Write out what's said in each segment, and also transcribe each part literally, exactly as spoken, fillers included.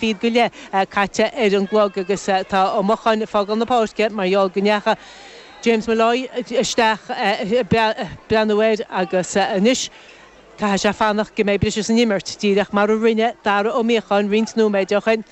fichead go leith caite ar an gclog agus tá Ó Mocháin ag fágáil na páirce mar gheall go ndeacha James Molloy isteach ag breathnú air agus anois caithfidh sé fanacht go mbeidh briseadh san imirt, díreach mar a rinne Dara Ó Míocháin roinnt nóiméid ó shin.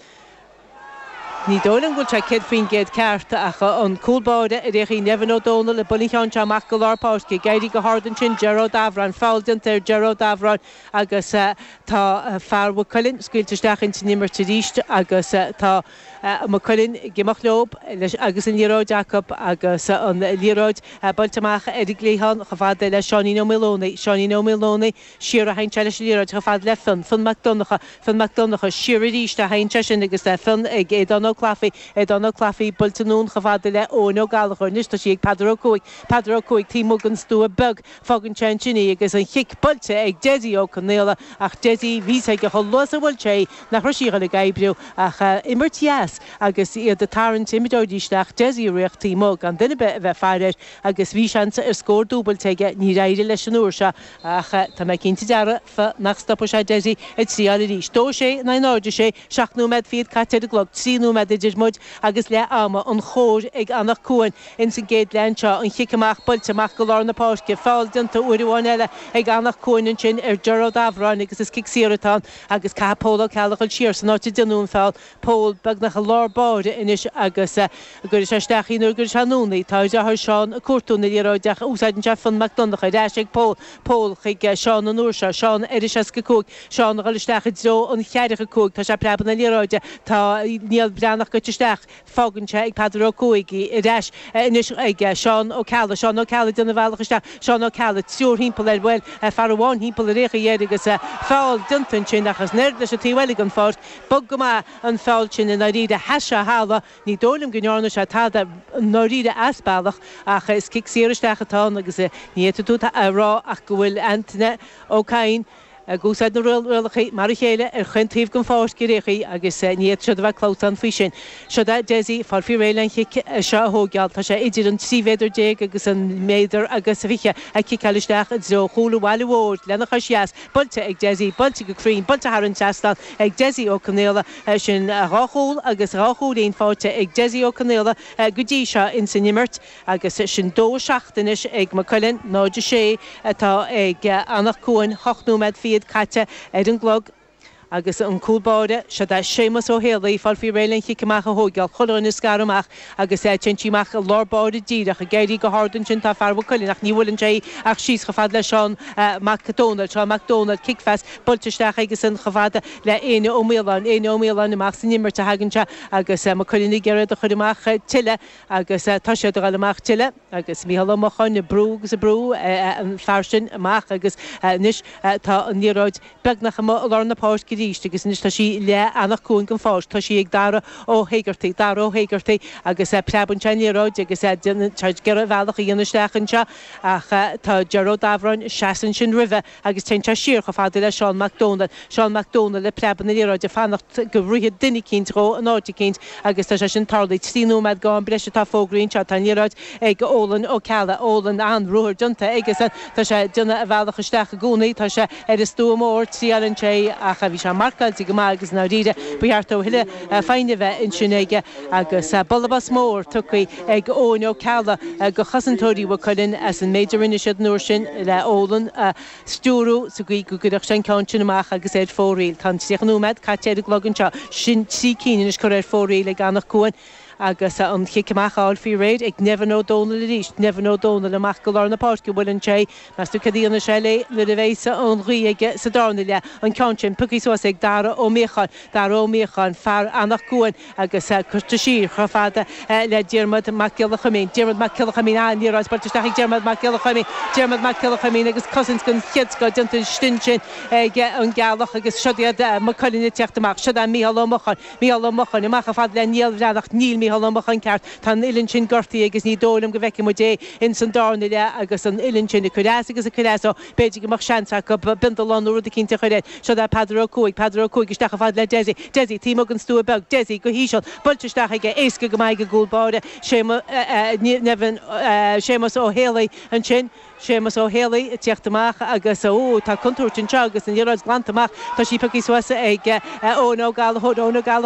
Ní dóigh liom go bhfuil sé céad faoin gcéad ceart ach an cúl báire ar aon chaoi Nevin Ó Dónaill ag bualadh an cheann seo amach go lár páirce, ag éirí go hard ansin Ger Ó Dabhráin, feall déanta ar Ger Ó Dabhráin agus tá fear Mhaigh Cuilinn scaoilte isteach ins an imirt arís agus tá Maigh Cuilinn ag imeacht leo agus an liathróid acu agus an liathróid buailte amach ar an gcliathán chomh fada le Seáinín Ó Maolomhnaigh, Seáinín Ó Maolomhnaigh siar a théann sé leis an liathróid chomh fada le Fionn, Fionn Mac Donncha, Fionn Mac Donncha siar arís a théann sé sin agus Fionn ag Aodán Ó Clafaí, Aodán Ó Clafaí buailte anonn chomh fada le Eoin Ó Gallchóir. Anois tá sí ag Peadar Ó Cuaig, Peadar Ó Cuaig taobh amuigh den stua beag. Fágann sé ansin í agus an chic buailte ag Dessie Ó Conaola ach Dessie, bhí 's aige chomh luath is a bhuail sé í nach raibh sí ag dul ag oibriú ach imirt dheas agus iad ag tarraingt imreoirí isteach, Dessie ag rith taobh amuigh gan duine ar bith a bheith ag faire air agus bhí seans ar scór dúbailte aige, níor éirigh leis an uair seo ach tá mé cinnte dearfa nach stopfaidh sé Dessie ag triáil arís. Dó a sé in aghaidh náid a sé, seacht nóiméad fichead caite ar an gclog, trí nóiméad idir muid agus leath ama, an chóir ag Anach Cuain ins an gcéad leath anseo, an chic amach buailte amach go lár na páirce, feall déanta uair amháin eile ag Anach Cuain ansin ar Ger Ó Dabhráin agus is cic saor atá ann agus caithfidh Pól Ó Ceallaigh dul siar san áit a déanadh an feall. Pól beagnach i lár báire anois agus an gcuirfidh sé isteach í nó an gcuirfidh sé anonn í. Tá a dheartháir Seán ag cuartú na liathróide ach úsáideann sé Fionn Mac Donncha ar ais ag Pól. Pól chuig Seán an uair seo. Seán ar an seasca cúig. Seán ag dul isteach i dtreo an cheathracha cúig. Tá sé ag preabadh na liathróide. Tá Niall Breathnach goite isteach. Fágann sé ag Peadar Ó Cuaig í. Ar ais anois ag Seán Ó Ceallaigh. Seán Ó Ceallaigh ag déanamh a bhealach isteach. Seán Ó Ceallaigh, triúr thimpeall air. Bhuel, fear amháin thimpeall ar aon chaoi air agus feall déanta ansin ach is in airde leis an taobh eile den pháirc. Bog go maith an feall sin i ndáiríre. Sheas sé a thalamh. Ní dóigh liom go ndearna sé tada i ndáiríre as bealach ach is cic saor isteach atá ann agus ní fhéadfaidh tú a rá ach go bhfuil Antaine Ó Cadhain ag úsáid na rialacha mar a chéile ar chaon taobh den pháirc ar aon chaoi agus ní fhéadfadh siad a bheith clamhsán faoi sin. Siod é Dessie ag fáil faoi réidh len chic seo a thóigeáil. Tá sé idir an trí mhéadar déag agus an méadar agus fiche ag ciceáil isteach i dtreo chúl an bhaile mhóir lena chois dheas. Buailte ag Dessie, buailte go cruinn, buailte thar an trasnán ag Dessie Ó Conaola. Sin dhá chúl agus dhá chúilín faighte ag Dessie Ó Conaola go dtí seo ins an imirt agus sin dó a seacht anois ag Maigh Cuilinn, náid a sé atá ag Anach Cuain, hocht nóiméad fichead caite ar an gclog agus an cúl báire, siod é Séamus Ó Héalaí, ag fáil faoi réidh len chic amach a thóigeáil, chuile dhuine ag scaradh amach agus téann sí amach i lár báire díreach, ag éirí go hard ansin tá fear Mhaigh Cuilinn ach ní bhuaileann sé í ach síos chomh fada le Seán Mac Dónaill, Seán Mac Dónaill, cic-phas buailte isteach aigesan chomh fada le Éanna Ó Maoláin, Éanna Ó Maoláin amach san imirt a thagann sé agus Maigh Cuilinn ag iarraidh iad a chur amach tuilleadh agus tá siad ag dul amach tuilleadh agus Mícheál Ó Mocháin ag brú agus ag brú an fear sin amach agus anois tá an liathróid beagnach amuigh i lár na páirce arís agus anois tá sí le Anach Cuain den pháirc. Tá sí ag Dara Ó hÉigeartaigh, Dara Ó hÉigeartaigh agus preabann sé an liathróid agus déanann sé ag iarraidh a bhealach a dhéanamh isteach anseo ach tá Ger Ó Dabhráin ag seasamh ansin roimhe agus téann sé siar chomh fada le Seán Mac Dónaill. Seán Mac Dónaill ag preabadh na liathróide ag fanacht go rithfeadh duine eicínt dhó in áit eicínt agus tá sé sin tarlaithe. Trí nóiméad go am breise atá fógraithe anseo. Tá an liathróid ag Eolan Ó Ceallaigh. Eolan, an-ruathar déanta aigesan. Tá sé ag déanamh a bhealach isteach i gcónaí. Tá sé ar an stua mór, triaileann sé ach bhí sé marcáilte go maith agus i ndáiríre ba cheart dó a thuilleadh foighne a bheith ansin aige agus bualadh bos mór tugtha ag Eoin Ó Ceallaigh go chosantóirí Mhaigh Cuilinn as an méid a rinne siad an uair sin le Eolan a stiúrú sa gcaoi go gcuirfeadh sé an ceann sin amach agus ar fóraoil. Tá an tríocha nóiméad caite ar an gclog anseo. Sin trí cinn anois curtha ar fóraoil ag Anach Cuain. Agus an chic amach á fháil faoi réir ag Nevin Ó Dónaill arís. Nevin Ó Dónaill amach go lár na páirce. Buaileann sé. Meas tú cad a dhéanfaidh sé léi nuair a bheidh an ghaoth aige sa darna leath. An ceann sin pioctha suas ag Dara Ó Míocháin. Dara Ó Míocháin, fear Anach Cuain agus curtha siar chomh fada le Diarmuid Mac Giolla Chuimín. Diarmuid Mac Giolla Chuimín, an liathróid buailte isteach ag Diarmuid Mac Giolla Chuimín. Diarmuid Mac Giolla Chuimín agus cosaint den chéad scoth déanta ansin ag an gCeallach agus siod iad Maigh Cuilinn ag teacht amach. Siod é Mícheál Ó Mocháin. Mícheál Ó Mocháin amach chomh fada le Niall Bhreathnach. Níl Mícheál. Mícheál Ó Mocháin ceart tá an uillinn sin gortaithe agus ní dóigh liom go bhfeicfidh muid é ins an darna leath agus an uillinn sin ag cur as agus ag cur as ó b'fhéidir go mbeadh seans acu bindalán nó rud eicínt a chur air. Seo é Peadar Ó Cuaig, Peadar Ó Cuaig isteach chomh fada le Dessie, Dessie taobh amuigh den stua beag, Dessie go híseal, buailte isteach aige, éasca go maith ag an gcúl báire, Séamus, Séamus Ó Héalaí ansin, Séamus Ó Héalaí ag tíocht amach agus, ó, tá contúirt anseo agus an liathróid glanta amach, tá sí pioctha suas ag Eoin Ó Gallchóir, Eoin Ó Gallchóir.